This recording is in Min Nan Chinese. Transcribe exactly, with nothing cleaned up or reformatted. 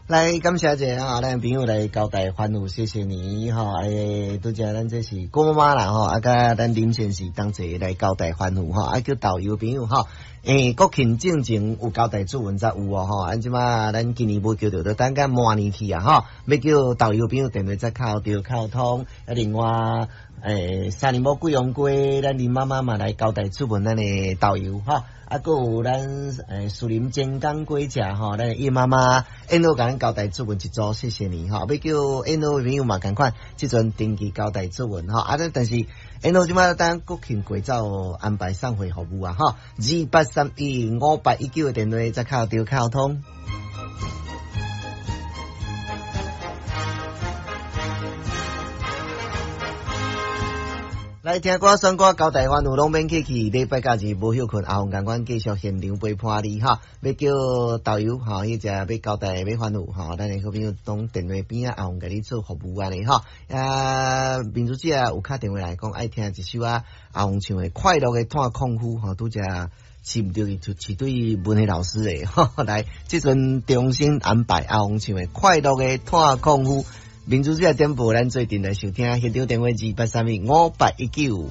來感謝一下哈，咱朋友來交代歡呼，謝謝你吼。欸，拄才咱這是郭媽媽啦吼，啊，佮咱林先生同齊來交代歡呼吼，啊叫導遊朋友吼。欸，國慶進前有交代主文才有哦吼，按這馬咱今年無叫著，就等甲明年去啊吼，欲叫導遊朋友電話才敲著敲通。啊，另外，欸，三林埔貴陽街，咱林媽媽嘛來交代出門咱的導遊吼，啊，閣有咱欸樹林真港果食吼，咱葉媽媽緣路共咱交代出門一組，謝謝你吼，欲叫緣路朋友嘛仝款，這陣登記交代出門吼，啊，但是緣路這馬等國慶過走安排送貨服務啊吼，二八三一五八一九的電話才敲著敲通。來聽歌、選歌、交代歡呼攏免客氣。禮拜假日無歇睏，阿鳳仝款繼續現場陪伴你哈。欲叫導遊吼，彼隻欲交代欲歡呼吼，咱的好朋友當電話邊仔，阿鳳共你做服務按呢吼。啊，民主姐有敲電話來講，愛聽一首啊，阿鳳唱的《快樂的炭礦夫》吼，拄才飼毋著伊，飼對文學老師的。來，這陣重新安排阿鳳唱的《快樂的炭礦夫》。民主姐點播，咱做陣來收聽，現場電話二八三一五八一九。